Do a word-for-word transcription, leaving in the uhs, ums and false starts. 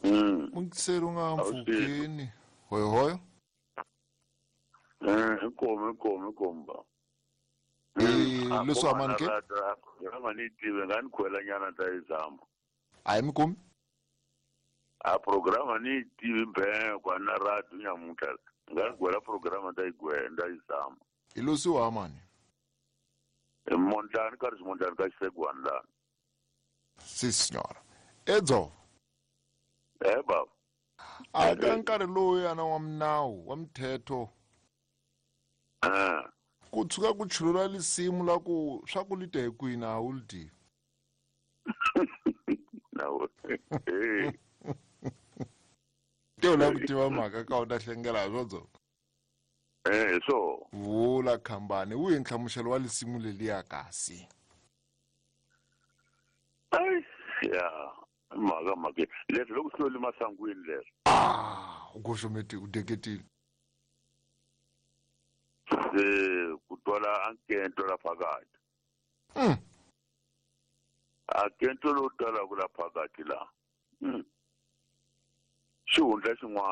Mm. Mungiseri u nga A wu swi mpfhukeni hoyohoyo. Eh, inkomu inkomu inkomu ba. Eh, leswi amani ke? Programa ni tive nga ni khwela nyana ta yi zama. A yi mi kumi? A programa ni tivi mbhe kwa na radio nyamuntlha. Nga ni gwela programa ta yi gwenda yi zama. Hi losiwa amani. Mondlani ka ri Mondlani ka xisegwani lana. Si signora. Edzo. Eh baba. A ka nkarhi lowu yana wa minawu wa mithetho. Eh. Ku tshuka ku chulula lisimu la ku swa ku li te kwini a wu li tivi. Nawu. Eh. Te u lava ku tiva mhaka ka u ta hlengela hi swodzo. Eh so. Vula khambani wu hi nhlamuselo wa lisimu leliya kasi. Ai ya mhaka mhaka leswi loko swi lo masangwini leswi. Ah, u goxometi u deketile. Se ku twala ankento la phakathi. Mm. Ankento lowu twalaka la phakathi la. Mm. Xihundla xin'wana.